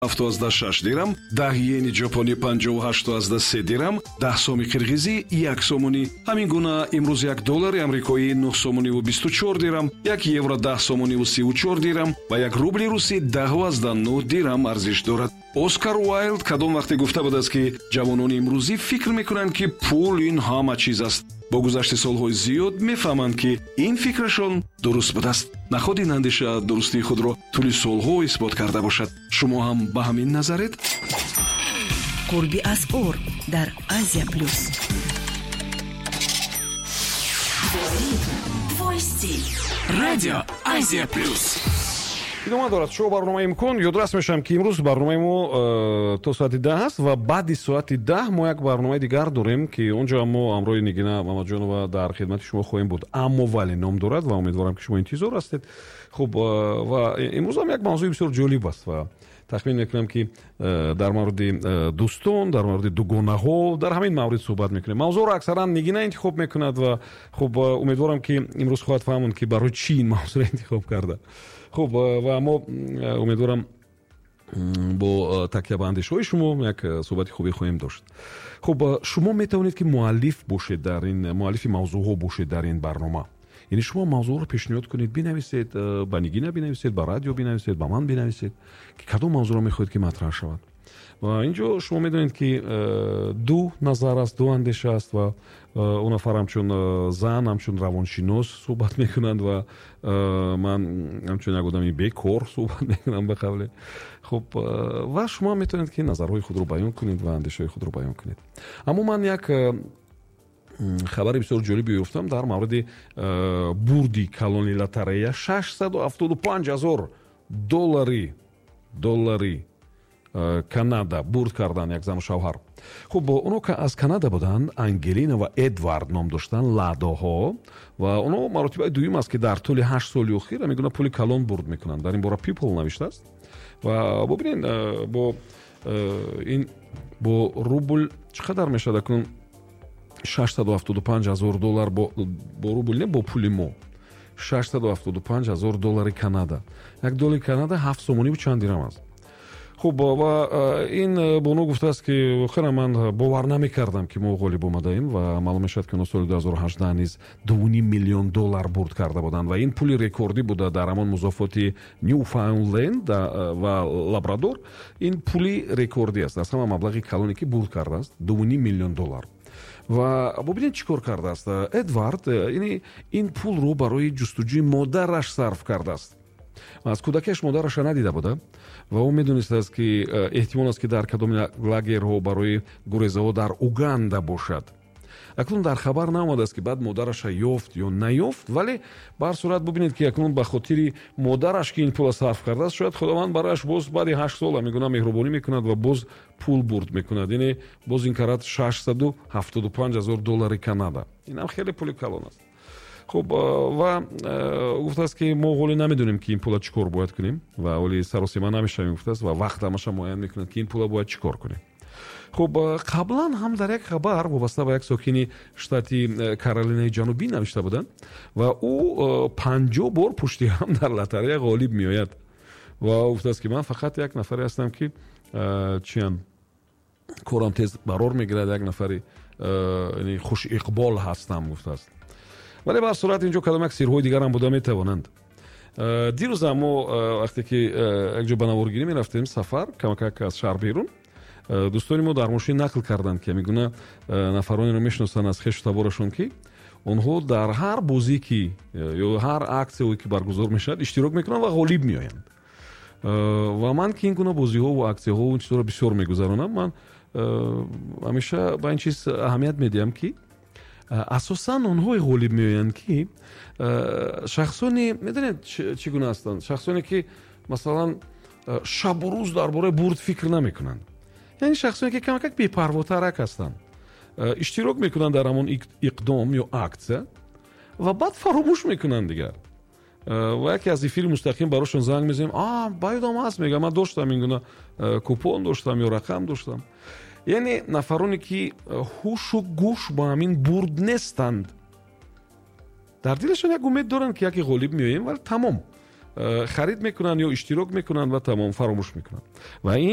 7,6 дирам, 10 иени ҷопонӣ 58,3 дирам, 10 соми қирғизӣ 1 сомонӣ. Ҳамин гуна имрӯз 1 доллари амрикоӣ 9 сомониву 24 дирам, 1 евро 10 сомониву 34 дирам ва 1 рубли русӣ 10,9 дирам арзиш дорад. Оскар Уайлд кадом вақте гуфта будааст, ки ҷавонони имрӯзӣ фикр мекунанд, ки пул ин ҳама чиз аст. Бо гузашти солҳои зиёд мефаҳманд, ки ин фикрашон дуруст будааст. Наход ин андеша дурустии худро тӯли солҳо исбот карда бошад. Шумо ҳам ба ҳамин назаред? Қурби асъор дар Азия Плюс. Твой стиль. Радио Азия Плюс. Идома дорад шоу барномаи «Имкон». Ёдрас мешавам, ки имрӯз барномаи мо то соати 10 аст ва баъди соати 10 мо як барномаи дигар дорем, ки он ҷо мо ҳамроҳи Нигина Мамаҷонова дар хидмати шумо хоҳем буд. «Аммо вале» ном дорад ва умедворам, ки шумо интизор ҳастед. Хуб, ва имрӯз ҳам як мавзӯи бисёр ҷолиб аст ва тахмин мекунам, ки дар мавриди дӯстон, дар мавриди дугонаҳо, дар ҳамин маврид суҳбат мекунем. Мавзӯъро аксаран Нигина интихоб мекунад ва хуб, умедворам, ки имрӯз хоҳад фаҳмонд, ки барои чӣ ин мавзӯъро интихоб карда. Хуб, ва мо, умедворам, бо такя ба андешаҳои шумо як суҳбати хубе хоҳем дошт. Хуб, шумо метавонед, ки муаллиф бошед дар ин, муаллифи мавзӯъҳо бошед дар ин барнома, яъне шумо мавзӯъро пешниҳод кунед, бинависед, ба Нигина бинависед, ба радио бинависед, ба ман бинависед, ки кадом мавзӯъро мехоҳед, ки матраҳ шавад. Ва ин ҷо шумо медонед, ки ду назар аст, ду андеша аст ва он нафар ҳамчун зан, ҳамчун равоншинос суҳбат мекунанд ва ман ҳамчун як одами бекор суҳбат мекунам, ба қавле. Хуб, ва шумо метавонед, ки назарҳои худро баён кунед ва андешаҳои худро баён кунед. Аммо ман як хабари бисёр ҷолибе ёфтам дар мавриди бурди калони лотарея: 675 ҳазор доллари Канада бурд кардан як зану шавҳар. Хуб, оно аз Канада буданд, Ангелина ва Эдвард ном доштанд, Ладоҳо, ва оно маротибаи дуюм аст, ки дар тӯли 8 соли охир ҳамин пули калон бурд мекунанд. Дар ин бора People навиштааст. Ва бубинед, бо ин, бо рубл чӣ қадар мешавад акнун 675 ҳазор доллар? Бо рубл не, бо пули мо 675 ҳазор доллари Канада. 1 доллари Канада 7 сомониву чанд дирам аст. Хуб, ва ин бону гуфтааст, ки охира ман бовар намекардам, ки мо ғолиб омадаем. Ва маълум мешавад, ки оно соли 2018 низ 2,5 миллион доллар бурд карда буданд ва ин пули рекордӣ буда дар ҳамон музофоти Ньюфаунленд ва Лабрадор. Ин пули рекордӣ аст, аз ҳама маблағи калоне, ки бурд кардааст, 2,5 миллион доллар. Ва бубинед, чӣ кор кардааст Эдвард: ин пулро барои ҷустуҷӯи модараш сарф кардааст. Аз кӯдакиаш модараша надида буда ва ӯ медонистааст, ки эҳтимол аст, ки дар кадом лагерҳо барои гурезаҳо дар Уганда бошад. Акнун дар хабар наомадааст, ки баъд модараша ёфт ё наёфт, вале ба ҳар сурат бубинед, ки акнун ба хотири модараш, ки ин пула сарф кардааст, шояд Худованд барояш боз баъди 8 сол ҳамин гуна меҳрубонӣ мекунад ва боз пул бурд мекунад. Яъне боз ин карат 675 ҳазор доллари Канада, инам хеле пули калон аст. Хуб, ва гуфтааст, ки мо ҳоле намедонем, ки ин пула чӣ кор бояд кунем ва ҳоли саросима намешавем, гуфтааст, ва вақт ҳамаша муайян мекунад, ки ин пула бояд чӣ кор кунем. Хуб, қаблан ҳам дар як хабар вобаста ба як сокини штати Каролинаи Ҷанубӣ навишта буданд ва ӯ 50 бор пушти ҳам дар лотарея ғолиб меояд ва гуфтааст, ки ман фақат як нафаре ҳастам, ки чиям, корам тез барор мегирад, як нафари хушиқбол ҳастам, гуфтааст. Вале ба ҳар сурат инҷо кадом як сирҳои дигарам буда метавонанд. Дирӯза мо, вақте ки якҷо ба наворгирӣ мерафтем, сафар камакак аз шаҳр берун, дӯстони мо дар мошин нақл карданд, ки ҳамин нафаронеро мешиносанд аз хешу таборашон, ки онҳо дар ҳар бозӣ ки ё ҳар аксияое ки баргузор мешавад, иштирок мекунанд ва ғолиб меоянд. Ва ман, ки ин гуна бозиҳо ва аксияҳо, ин чизҳоро бисёр мегузаронам, ман ҳамеша ба ин чиз аҳамият медиҳам, ки асосан онҳое ғолиб меоянд, ки шахсоне, медонед, чӣ гуна ҳастанд, шахсоне ки масалан шабу рӯз дар бораи бурд фикр намекунанд, яъне шахсоне ки камакак бепарвотарак ҳастанд, иштирок мекунанд дар ҳамон иқдом ё аксия ва баъд фаромӯш мекунанд дигар. Ва яке аз эфири мустақим барошон занг мезанем: «А, ба ёдам аст», мегӯям, «ман доштам, ин гуна купон доштам ё рақам доштам». Яъне нафароне ки ҳушу гӯш ба ҳамин бурд нестанд, дар дилашон як умед доранд, ки яке ғолиб меоем, вале тамом. Харид мекунанд ё иштирок мекунанд ва тамом, фаромӯш мекунанд. Ва ин